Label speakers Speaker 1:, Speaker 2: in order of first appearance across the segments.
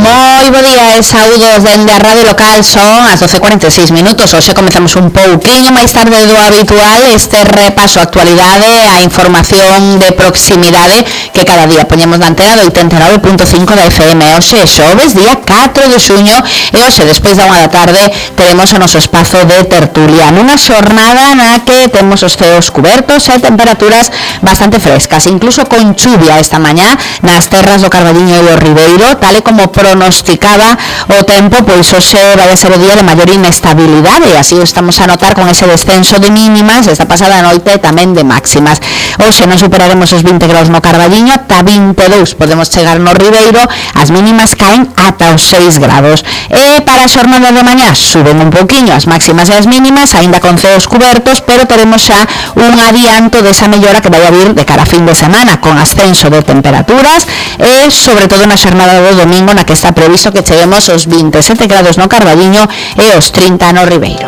Speaker 1: Moi bo día e saúdos dende a radio local. Son as 12:46 minutos. Hoxe comezamos un pouquiño máis tarde do habitual este repaso a actualidade, a información de proximidade que cada día poñemos na antena do 89.5 da FM. Hoxe xoves, día 4 de xuño, e hoxe, despois da 1 da tarde, teremos o noso espazo de tertulia nunha xornada na que temos os ceos cubertos e temperaturas bastante frescas, incluso con chuvia esta mañá nas terras do Carballiño e o Ribeiro, tal e como pronosticaba o tempo. Pois hoxe vai a ser o día de maior inestabilidade, e así o estamos a notar con ese descenso de mínimas esta pasada noite e tamén de máximas. Hoxe non superaremos os 20 graus no Carballiño, ata 22 podemos chegar no Ribeiro, as mínimas caen ata os 6 grados. E para a xornada de mañá suben un pouquiño as máximas e as mínimas, aínda con ceos cubertos, pero teremos xa un adianto desa mellora que vai a vir de cara a fin de semana, con ascenso de temperaturas e sobre todo na xornada do domingo, na que está previsto que cheguemos aos 27 grados no Carballiño e aos 30 no Ribeiro.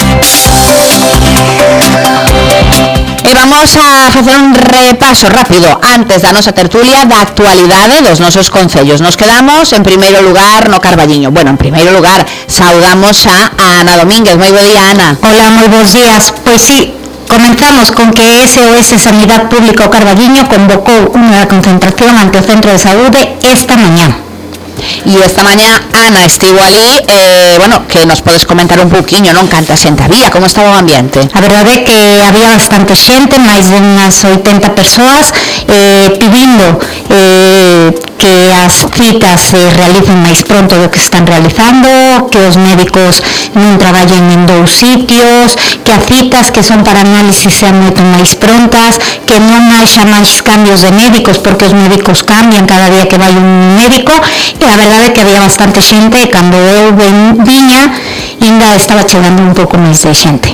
Speaker 1: E vamos a facer un repaso rápido antes da nosa tertulia da actualidade dos nosos concellos. Nos quedamos en primeiro lugar no Carballiño. Bueno, en primeiro lugar saudamos a Ana Domínguez. Moi bo día, Ana.
Speaker 2: Hola, moi bons días. Pois sí, comenzamos con que SOS Sanidade Pública o Carballiño convocou unha concentración ante o Centro de Saúde esta mañá.
Speaker 1: E esta mañá Ana estivo ali, bueno, que nos podes comentar un pouquiño, non? Canta xente había, como estaba o ambiente?
Speaker 2: A verdade é que había bastante xente, máis de unhas 80 persoas, pedindo que as citas se realicen máis pronto do que están realizando, que os médicos non traballen en dous sitios, que as citas que son para análisis sean moito máis prontas, que non haxa máis cambios de médicos, porque os médicos cambian cada día que vai un médico. E a verdade é que había bastante xente, e cando eu viña ainda estaba chegando un pouco máis de xente.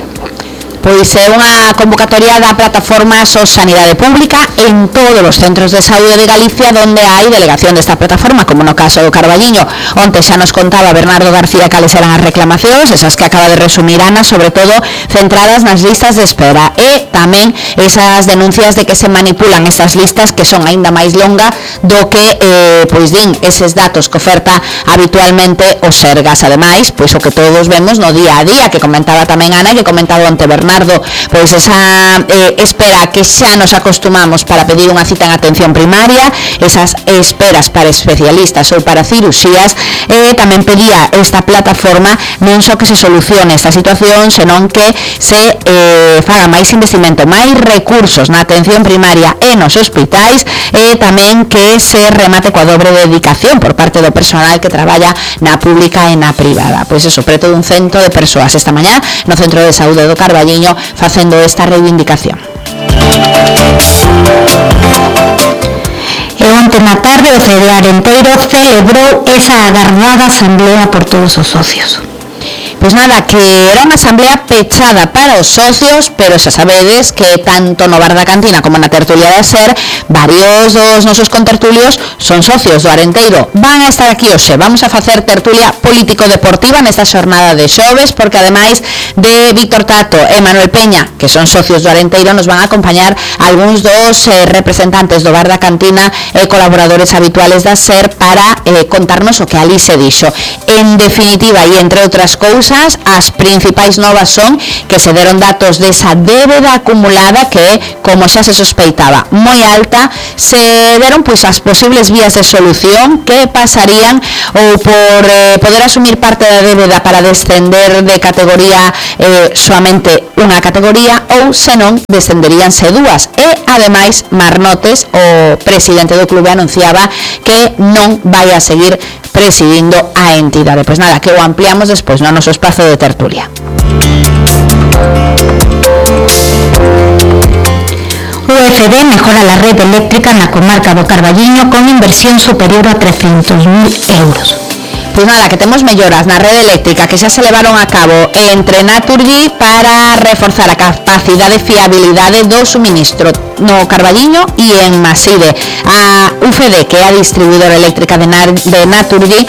Speaker 1: Pois é unha convocatoria da plataforma SOS Sanidade Pública en todos os centros de saúde de Galicia donde hai delegación desta plataforma, como no caso do Carballiño. Onte xa nos contaba Bernardo García cales eran as reclamacións, esas que acaba de resumir Ana, sobre todo centradas nas listas de espera, e tamén esas denuncias de que se manipulan estas listas, que son aínda máis longa do que pois din eses datos que oferta habitualmente o Sergas. Ademais, pois o que todos vemos no día a día, que comentaba tamén Ana, que comentaba onte Bernardo, pois esa espera que xa nos acostumamos para pedir unha cita en atención primaria, esas esperas para especialistas ou para cirurxías. Tamén pedía esta plataforma non só que se solucione esta situación, senón que se faga máis investimento, máis recursos na atención primaria e nos hospitais, e tamén que se remate coa dobre dedicación por parte do personal que traballa na pública e na privada. Pois eso, preto dun cento de persoas esta mañá no Centro de Saúde do Carballiño facendo esta reivindicación.
Speaker 2: E onte na tarde o CD Arenteiro celebrou esa agardada asamblea por todos os socios.
Speaker 1: Pois nada, que era unha asamblea pechada para os socios, pero xa sabedes que tanto no bar da cantina como na tertulia da SER, varios dos nosos contertulios son socios do Arenteiro. Van a estar aquí hoxe, vamos a facer tertulia político-deportiva nesta xornada de xoves, porque ademais de Víctor Tato e Manuel Peña, que son socios do Arenteiro, nos van a acompañar algúns dos representantes do bar da cantina e colaboradores habituales da SER para contarnos o que ali se dixo. En definitiva, e entre outras cousas, as principais novas son que se deron datos desa débeda acumulada que, como xa se sospeitaba, moi alta. Se deron pois as posibles vías de solución, que pasarían ou por poder asumir parte da débeda para descender de categoría soamente unha categoría, ou senón descenderíanse dúas. E ademais Marnotes, o presidente do clube, anunciaba que non vai a seguir presidindo a entidade. Pois nada, que o ampliamos despois no noso espazo de tertulia.
Speaker 2: UFD mejora la red eléctrica na comarca do Carballiño con inversión superior a 300.000 euros.
Speaker 1: Pois nada, que temos melloras na rede eléctrica que xa se levaron a cabo entre Naturgy para reforzar a capacidade e fiabilidade do suministro no Carballiño e en Maside. A UFD, que é a distribuidora eléctrica de Naturgy,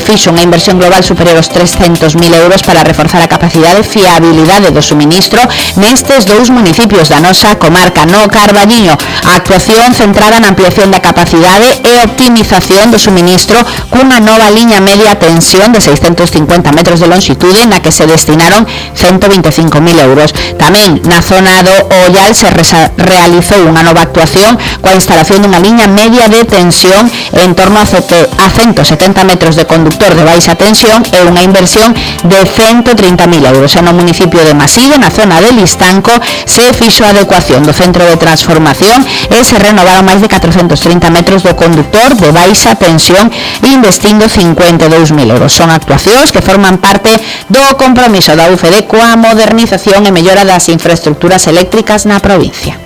Speaker 1: fixo unha inversión global superior aos 300.000 euros para reforzar a capacidade e fiabilidade do suministro nestes dous municipios da nosa comarca. No Carballiño, a actuación centrada na ampliación da capacidade e optimización do suministro cunha nova liña media tensión de 650 metros de longitude na que se destinaron 125.000 euros. Tamén na zona do Ollal se realizou unha nova actuación coa instalación dunha liña media de tensión en torno a 170 metros de conductor de baixa tensión e unha inversión de 130.000 euros. E no municipio de Maside, na zona de Listanco, se fixo a adecuación do centro de transformación e se renovaron máis de 430 metros do conductor de baixa tensión investindo 52.000 euros. Son actuacións que forman parte do compromiso da UCD coa modernización e mellora das infraestructuras eléctricas na provincia.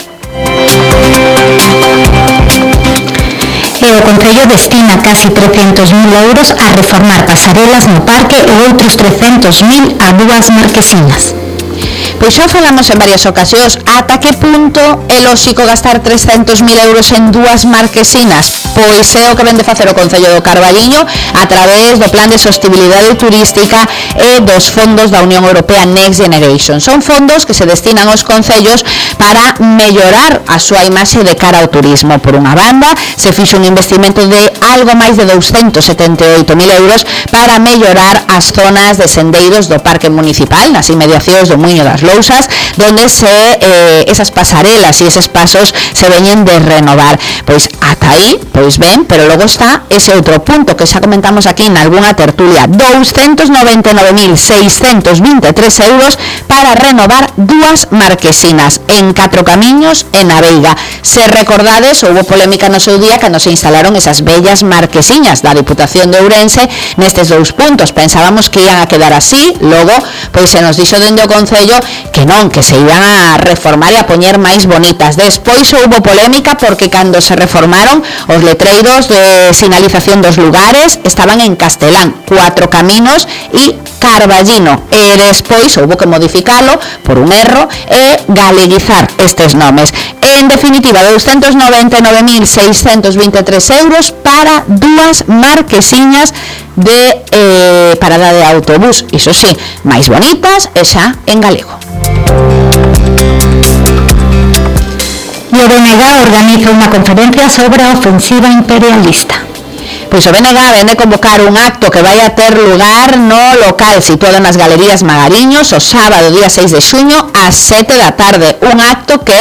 Speaker 2: O Concello destina casi 300.000 euros a reformar pasarelas no parque e outros 300.000 a dúas marquesinas.
Speaker 1: Pois xa falamos en varias ocasións ata que punto é lóxico gastar 300.000 euros en dúas marquesinas. Pois é o que vende facer o Concello do Carballiño a través do Plan de Sostibilidade Turística e dos fondos da Unión Europea Next Generation. Son fondos que se destinan aos concellos para mellorar a súa imaxe de cara ao turismo. Por unha banda, se fixo un investimento de algo máis de 278.000 euros para mellorar as zonas de sendeiros do Parque Municipal, nas inmediacións do Muiño das Lousas, donde esas pasarelas e eses pasos se veñen de renovar. Pois ata aí, pois ben, pero logo está ese outro punto que xa comentamos aquí en algunha tertulia, 299.623 euros para renovar dúas marquesinas en Catro Camiños e na Veiga. Se recordades, houve polémica no seu día cando se instalaron esas bellas marquesiñas da Diputación de Ourense nestes dous puntos. Pensábamos que iban a quedar así, logo pois se nos dixo dende o Concello que non, que se iban a reformar e a poñer máis bonitas. Despois houve polémica porque cando se reformaron os letreiros de sinalización dos lugares estaban en castelán, Cuatro Caminos e Carballino, e despois houve que modificalo por un erro e galeguizar estes nomes. En definitiva, 299.623 euros para dúas marquesiñas de parada de autobús, iso sí, máis bonitas e xa en galego.
Speaker 2: E o BNG organiza unha conferencia sobre a ofensiva imperialista.
Speaker 1: Pois o BNG vende convocar un acto que vai a ter lugar no local situado nas Galerías Magariños o sábado día 6 de xuño ás 7 da tarde. Un acto que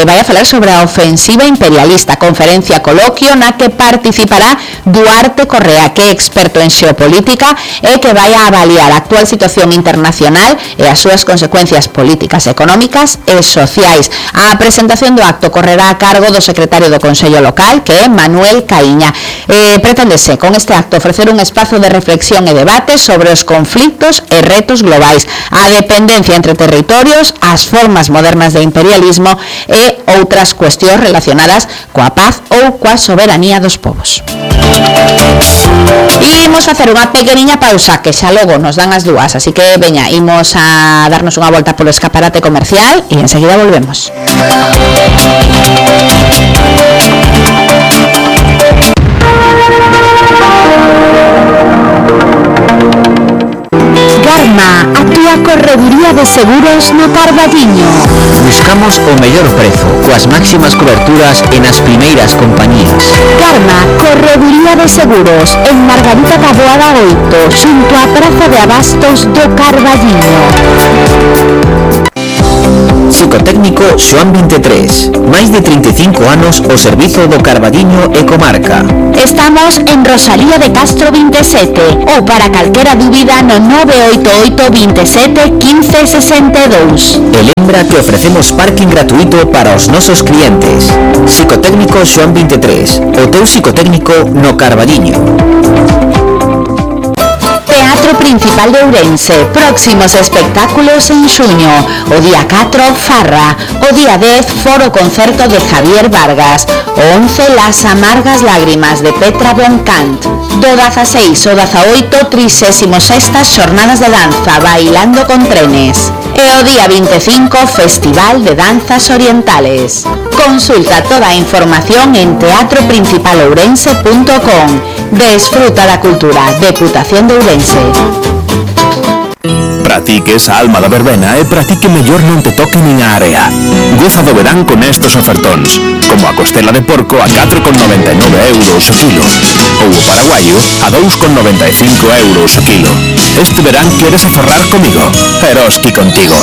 Speaker 1: vai a falar sobre a ofensiva imperialista. Conferencia coloquio na que participará Duarte Correa, que é experto en xeopolítica e que vai a avaliar a actual situación internacional e as súas consecuencias políticas, económicas e sociais. A presentación do acto correrá a cargo do secretario do Consello Local, que é Manuel Caíña. Preténdese con este acto ofrecer un espazo de reflexión e debate sobre os conflictos e retos globais, a dependencia entre territorios, as formas modernas de imperialismo e outras cuestións relacionadas coa paz ou coa soberanía dos povos. Imos facer unha pequeniña pausa que xa logo nos dan as dúas, así que veña, imos a darnos unha volta polo escaparate comercial e enseguida volvemos. Garma, a túa correduría de seguros no Carballiño.
Speaker 3: Buscamos o mellor prezo, coas máximas coberturas e nas primeiras compañías.
Speaker 1: Garma, correduría de seguros, en Margarita da Boada 8, xunto á Praza de Abastos do Carballiño.
Speaker 3: Psicotécnico Xoán 23. Máis de 35 anos ao servizo do Carballiño e comarca.
Speaker 1: Estamos en Rosalía de Castro 27 ou para calquera dúbida no 988 27 15 62.
Speaker 3: E lembra que ofrecemos parking gratuito para os nosos clientes. Psicotécnico Xoán 23. O teu psicotécnico no Carballiño.
Speaker 1: Teatro Principal de Ourense, próximos espectáculos en xuño. O día 4, Farra. O día 10, Foro Concerto de Javier Vargas. O 11, Las Amargas Lágrimas de Petra Boncant. Do 16 o 18, 36ª Xornadas de Danza Bailando con Trenes. E o día 25, Festival de Danzas Orientales. Consulta toda a información en teatroprincipalourense.com Desfruta da cultura. Deputación de Ourense.
Speaker 4: Para ti que esa alma da verbena é para ti que mellor non te toque nin a area. Goza do verán con estos ofertóns, como a costela de porco a 4,99 euros o kilo, ou o paraguaio a 2,95 euros o kilo. Este verán queres aforrar comigo? Eroski contigo.